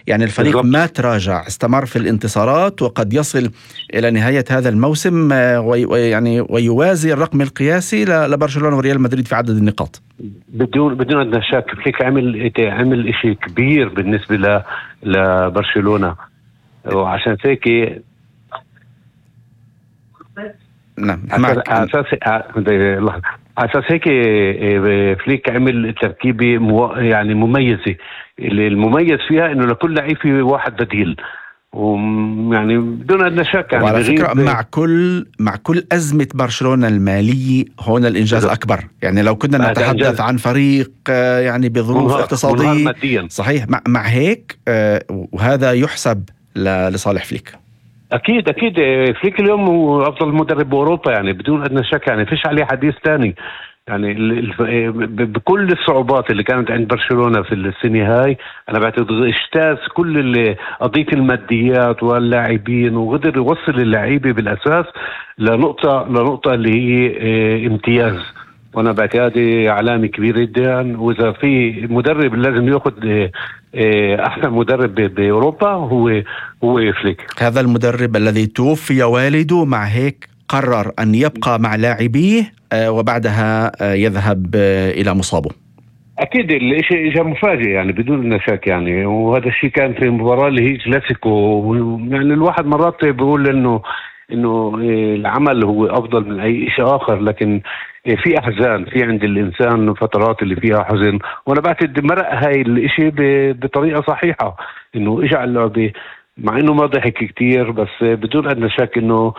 يعني الفريق بالضبط. ما تراجع، استمر في الانتصارات، وقد يصل إلى نهاية هذا الموسم ويوازي الرقم القياسي لبرشلونة وريال مدريد في عدد النقاط. بدون أدنى شك. فليك عمل إشي كبير بالنسبة لبرشلونة، وعشان هيك نعم على أساس هيك فليك عمل تركيبة يعني مميزة. المميز فيها إنه لكل لعيب في واحد بديل، ويعني بدون أدنى شك يعني. وعلى فكرة مع كل أزمة برشلونة المالية هون الإنجاز أكبر. يعني لو كنا نتحدث عن فريق يعني بظروف اقتصادية صحيح، مع هيك وهذا يحسب لصالح فليك. أكيد فليك اليوم هو أفضل مدرب بأوروبا يعني بدون أدنى شك. يعني فيش عليه حديث تاني. يعني بكل الصعوبات اللي كانت عند برشلونة في السنة هاي، أنا بعتقد اجتاز كل قضية الماديات واللاعبين، وقدر يوصل اللعيبة بالأساس لنقطة اللي هي امتياز. وأنا بعتقد علامة كبيرة جدا. وإذا في مدرب لازم يأخذ أحسن مدرب بأوروبا هو فليك. هذا المدرب الذي توفي والده، مع هيك قرر أن يبقى مع لاعبيه وبعدها يذهب إلى مصابه. أكيد الشيء إجا مفاجئ يعني بدون شك يعني. وهذا الشيء كان في مباراة اللي هي كلاسيكو. يعني الواحد مرات بيقول إنه العمل هو أفضل من أي شيء آخر، لكن في أحزان في عند الإنسان فترات اللي فيها حزن. وأنا بعتقد مرق هاي الإشي بطريقة صحيحة، إنه إجا اللعبة مع إنه ما ضحك كتير، بس بدون أدنى شك إنه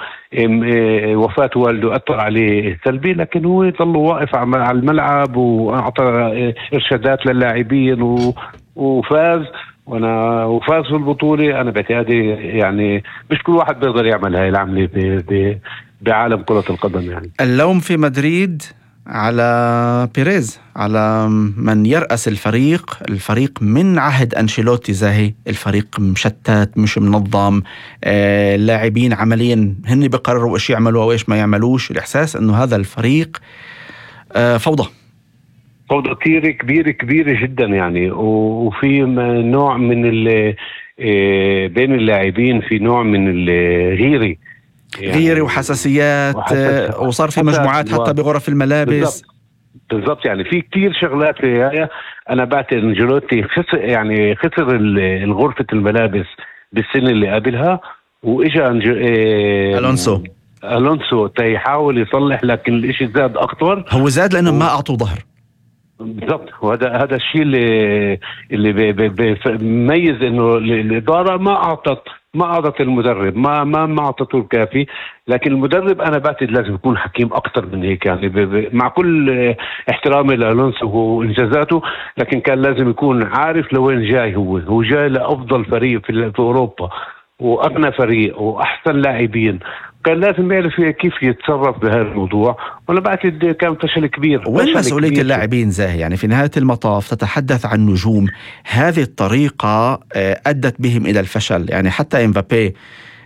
وفاة والده أثر عليه سلبي، لكن هو ظل واقف على الملعب وأعطى إرشادات للاعبين وفاز وفاز في البطولة. أنا بعتقد يعني مش كل واحد بيقدر يعمل هاي العملة بعالم كرة القدم. يعني اللوم في مدريد على بيريز، على من يرأس الفريق من عهد أنشيلوتي. زاهي الفريق مشتت، مش منظم، اللاعبين عمليا هن بقرروا إيش يعملوا وإيش ما يعملوش. الإحساس أنه هذا الفريق فوضى كتير كبيرة جدا يعني. وفي نوع من بين اللاعبين في نوع من الغيرة غيري وحساسيات وصار في مجموعات حتى بغرف الملابس. بالضبط يعني في كتير شغلات في هاي. أنا بعتقد أنشيلوتي خسر الغرفة الملابس بالسنة اللي قبلها، وإجا ألونسو تيحاول يصلح، لكن الإشي زاد أكتر. هو زاد لأنه ما أعطوا ظهر. بالضبط. وهذا الشيء اللي بيميز إنه الإدارة ما أعطت المدرب ما أعطته الكافي. لكن المدرب أنا بعتقد لازم يكون حكيم أكتر من هيك يعني. مع كل احترامي لألونسو وإنجازاته، لكن كان لازم يكون عارف لوين جاي. هو جاي لأفضل فريق في أوروبا، وأغنى فريق وأحسن لاعبين. كان لازم يعرف كيف يتصرف بهذا الموضوع. وأنا بعتقد كان فشل كبير. وين مسؤولية اللاعبين زاهي؟ يعني في نهاية المطاف تتحدث عن نجوم، هذه الطريقة أدت بهم إلى الفشل. يعني حتى إمبابي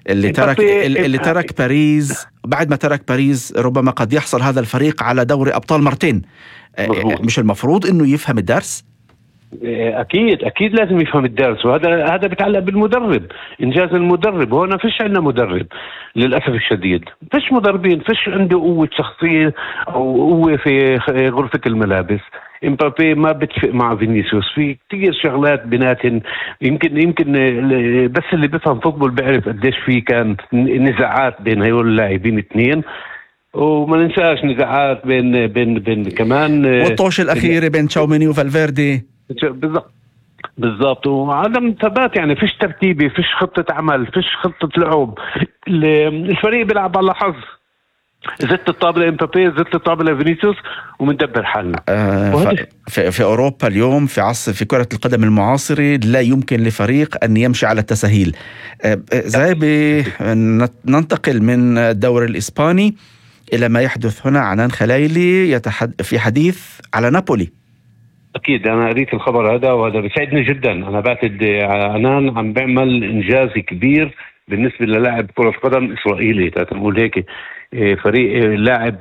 اللي ترك باريس، بعد ما ترك باريس ربما قد يحصل هذا الفريق على دوري أبطال مرتين. مش المفروض إنه يفهم الدرس؟ أكيد لازم يفهم الدرس. وهذا بيتعلق بالمدرب، إنجاز المدرب. هنا فيش عندنا مدرب للأسف الشديد. فيش مدربين، فيش عنده قوة شخصية أو قوة في غرفة الملابس. إمبابي ما بتفق مع فينيسيوس في كتير شغلات بيناتهم. يمكن بس اللي بيفهم فوتبول بيعرف قديش في كان نزاعات بين هيول اللاعبين اثنين. وما ننساش نزاعات بين كمان والطوش الأخيرة بين تشاوميني وفالفيردي. بالضبط. وعدم ثبات يعني. فيش ترتيبي، فيش خطة عمل، فيش خطة لعب. الفريق بيلعب على حظ. زدت الطابلة إمبابي، زدت الطابلة فينيسيوس، ومندبر حالنا. في أوروبا اليوم في كرة القدم المعاصرة لا يمكن لفريق أن يمشي على التسهيل. ننتقل من الدوري الإسباني إلى ما يحدث هنا. عنان خلايلي في حديث على نابولي. أكيد أنا قريت الخبر هذا، وهذا بيسعدني جدا. أنا بعتقد عنان عم بيعمل إنجاز كبير بالنسبة للاعب كرة قدم إسرائيلي. تقول هيك فريق لاعب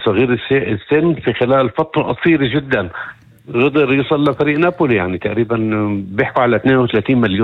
صغير السن في خلال فترة قصيرة جدا قدر يوصل لفريق نابولي. يعني تقريبا بيحكوا على 32 مليون